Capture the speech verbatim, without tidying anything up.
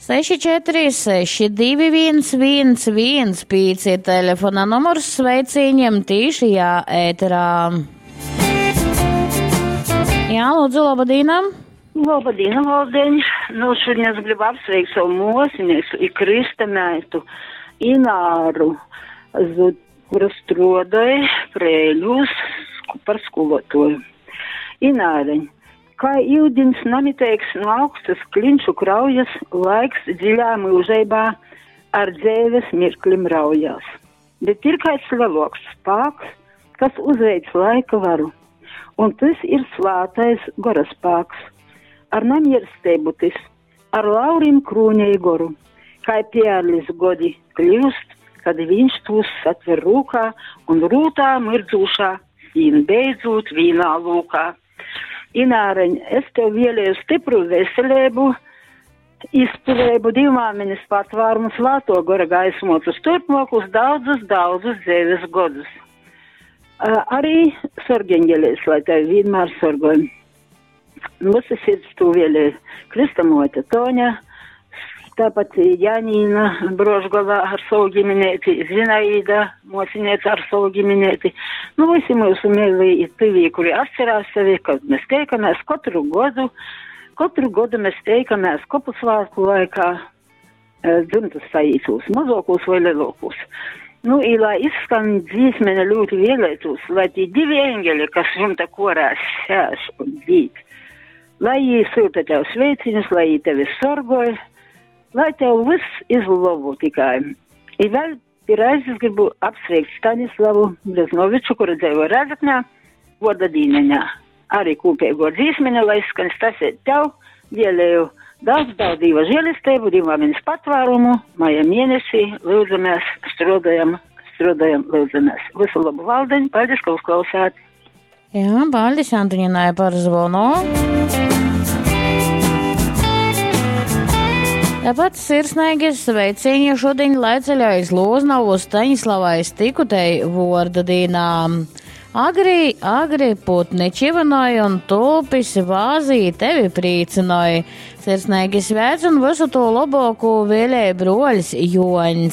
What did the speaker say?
seši četri seši divi viens viens viens pīci telefona numurs sveicīņiem tīšajā ēterā. Jā, lūdzu, labadīna! Labadīna, Valdeņ! Nu, šodien es gribu apsveikt savu mosinieku i kristameitu Ināru, kura struodāja Prēļos par skolotoju. Ināreņ, kā iudins namiteigs no augstas klinšu kraujas, laiks dziļā mūžeibā ar dzēves mirklim raujās. Bet ir kāds leloks spāks, kas uzveic laika varu, un tas ir svātais gora spāks. Ar namiersteibu tis, ar laurim krūņai goru, kā pērlis godi kļūst, kad viņš tos satver rūkā un rūtā mirdzūšā, un beidzot vīnā lūkā. Ināreņ, es tev vēlēju stipru veselību, izturību, divmāmiņas patvērumu, svāto gora gaismotus turpmākus daudzus, daudzus dzīves godus. Uh, arī sorgeņģeļies, lai tevi vienmēr sorgoj. Mūsu sirds tu vēlēju Kristamote Toņa, tāpat Janīna Brožgova ar savu ģimenēti, Zinaida mosinieca ar savu ģimenēti. Nu, visi mūsu mīlī ir tyvī, kuri atcerās sevi, kad mēs teikamies katru gadu, katru gadu mēs teikamies kopu svētku laikā, dzimtas saītos, mazākos vai lielākos. Nu, i lai izskan dzīsmene ļoti vēlētos, lai tie divi eņģeļi, kas jumta korās sēž un dzīd, lai jī sūta tev sveiciņus, lai jī tevi sorgoja, lai tev viss izlabu tikai. I vēl pie reizes gribu apsveikt Stanislavu Breznoviču, kura dzīvo Rēzeknē, goda dīneņā. Arī kūpēgo dzīsmeni, lai skan stasēt tev, vēlēju daudz, daudz Dieva žēlistību, Dieva patvērumu, maija mēnesī, lūdzamies, strādājam, strādājam, lūdzamies. Visu labu valdeņu, paldies, ka uzklausāt. Jā, paldies Antoņinai par zvonu. Tāpat sirsnīgi sveiciņi šodien laiceļā iz Lūznavu Staņislavai Stikutei vorda dīnā. Agri, agri putni čivinoja un tulpis vāzī tevi prīcinoja. Sirsnīgi sveic un visu to labāko vēlēja broļs Joņs.